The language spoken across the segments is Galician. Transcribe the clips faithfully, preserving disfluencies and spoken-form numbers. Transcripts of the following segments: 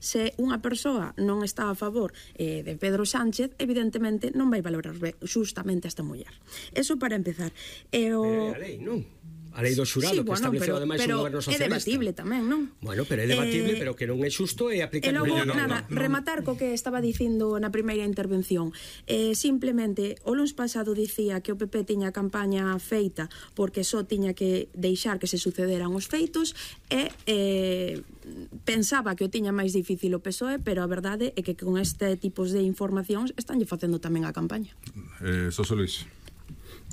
Se unha persoa non está a favor eh, de Pedro Sánchez, evidentemente non vai valorar justamente esta muller. Eso para empezar. E o... Pero é a lei, non? A lei do xurado, sí, que bueno, estableceu ademais un goberno socialista. Pero é debatible tamén, non? Bueno, pero é debatible, eh, pero que non é xusto e aplicar... E logo, no, nada, no, no. rematar co que estaba dicindo na primeira intervención. Eh, simplemente, o luns pasado dicía que o P P tiña campaña feita porque só tiña que deixar que se sucederan os feitos e eh, pensaba que o tiña máis difícil o P S O E, pero a verdade é que con este tipos de informacións estanlle facendo tamén a campaña. Eh, Xosé Luis.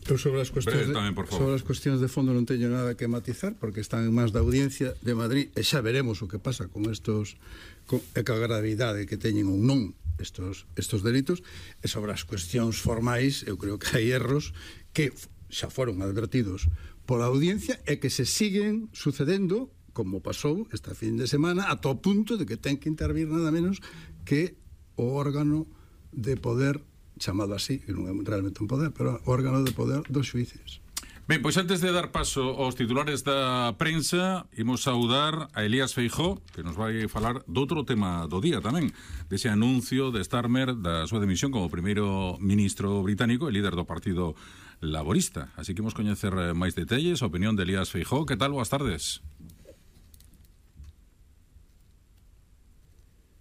Eu sobre as cuestións de, tamén, sobre as cuestións de fondo non teño nada que matizar porque están en máis da audiencia de Madrid e xa veremos o que pasa con estos con, e ca gravidade que teñen ou non estos, estos delitos. E sobre as cuestións formais eu creo que hai erros que xa foron advertidos pola audiencia e que se siguen sucedendo como pasou esta fin de semana ata o punto de que ten que intervir nada menos que o órgano de poder chamado así, que non é realmente un poder, pero o órgano de poder dos xuíces. Ben, pois antes de dar paso aos titulares da prensa, imos saudar a Elías Feijóo, que nos vai falar de outro tema do día tamén, dese anuncio de Starmer da súa dimisión como primeiro ministro británico e líder do Partido Laborista. Así que imos coñecer máis detalles, a opinión de Elías Feijóo. Que tal? Boas tardes.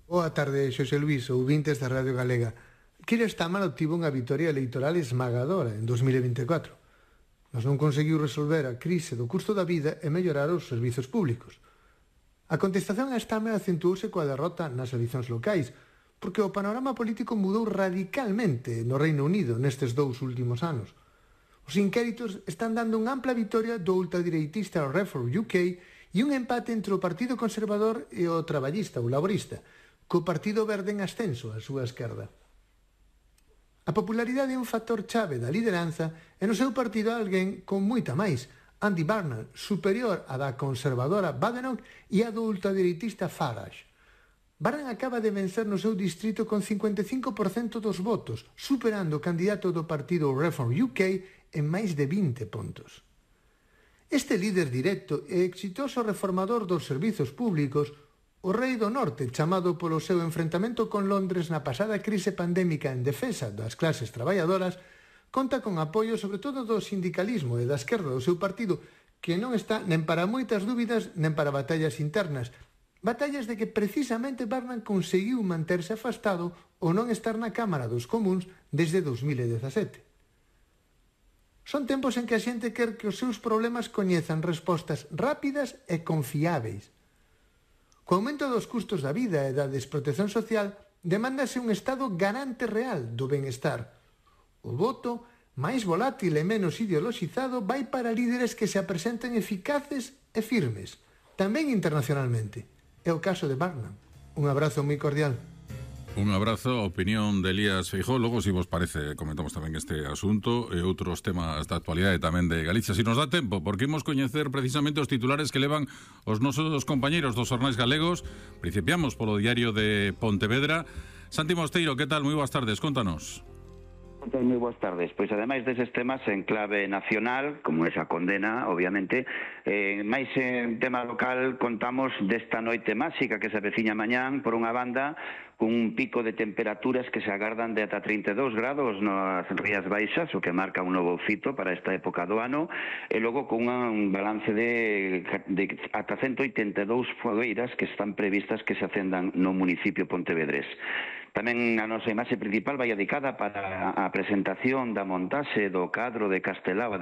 Boa tarde, Xosé Luis, ouvintes da Radio Galega. Keir Starmer obtivo unha vitoria electoral esmagadora en dos mil vinte e catro, mas non conseguiu resolver a crise do custo da vida e mellorar os servizos públicos. A contestación a Starmer acentuouse coa derrota nas eleccións locais, porque o panorama político mudou radicalmente no Reino Unido nestes dous últimos anos. Os inquéritos están dando unha ampla vitoria do ultradireitista Reform U K e un empate entre o Partido Conservador e o Traballista, o Laborista, co Partido Verde en ascenso á súa esquerda. A popularidade é un factor chave da lideranza e no seu partido alguén con moita máis, Andy Burnham, superior á da conservadora Badenoch e a do ultradireitista Farage. Burnham acaba de vencer no seu distrito con cincuenta e cinco por cento dos votos, superando o candidato do partido Reform U K en máis de vinte puntos. Este líder directo e exitoso reformador dos servizos públicos, o rei do norte, chamado polo seu enfrentamento con Londres na pasada crise pandémica en defensa das clases traballadoras, conta con apoio sobre todo do sindicalismo e da esquerda do seu partido, que non está nen para moitas dúbidas nen para batallas internas, batallas de que precisamente Burnham conseguiu manterse afastado ou non estar na Cámara dos Comuns desde dos mil dezasete. Son tempos en que a xente quer que os seus problemas coñezan respostas rápidas e confiáveis. Co aumento dos custos da vida e da desprotección social, demándase un Estado garante real do benestar. O voto, máis volátil e menos ideoloxizado, vai para líderes que se apresenten eficaces e firmes, tamén internacionalmente. É o caso de Burnham. Un abrazo moi cordial. Un abrazo, a opinión de Elías Feijóo. Logo, se vos parece, comentamos tamén este asunto e outros temas da actualidade tamén de Galicia. Se nos dá tempo, porque imos coñecer precisamente os titulares que levan os nosos compañeiros dos xornais galegos. Principiamos polo diario de Pontevedra. Santi Mosteiro, que tal? Moi boas tardes, contanos. Moi boas tardes. Pois ademais deses temas en clave nacional, como esa condena, obviamente, eh, máis en tema local contamos desta noite máxica que se aveciña mañán, por unha banda, cun pico de temperaturas que se agardan de ata trinta e dous grados nas Rías Baixas, o que marca un novo fito para esta época do ano, e logo con un balance de, de ata ciento oitenta e dous fogueiras que están previstas que se acendan no municipio pontevedrés. Tamén a nosa imaxe principal vai dedicada para a presentación da montaxe do cadro de Castelao, a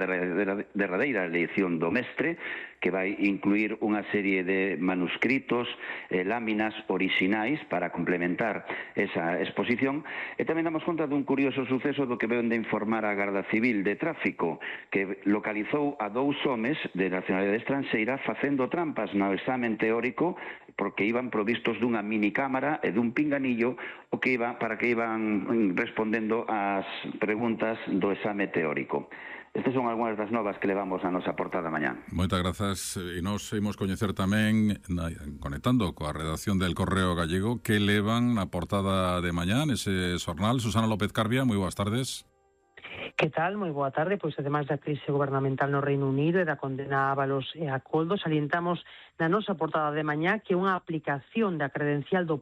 derradeira eleición do mestre, que vai incluir unha serie de manuscritos e láminas orixinais para complementar esa exposición. E tamén damos conta dun curioso suceso do que ven de informar a Garda Civil de Tráfico, que localizou a dous homes de nacionalidade estranxeira facendo trampas no examen teórico porque iban provistos dunha minicámara e dun pinganillo o que iba, para que iban respondendo ás preguntas do exame teórico. Estas son algunhas das novas que levamos a nosa portada mañá. Moitas grazas. E nos imos coñecer tamén, conectando coa redacción del Correo Gallego, que levan na portada de mañá nese xornal. Susana López Carbia, moi boas tardes. Que tal? Moi boa tarde. Pois ademais da crise gubernamental no Reino Unido e da condena a Ábalos e a Coldo, salientamos na nosa portada de mañá que unha aplicación da credencial do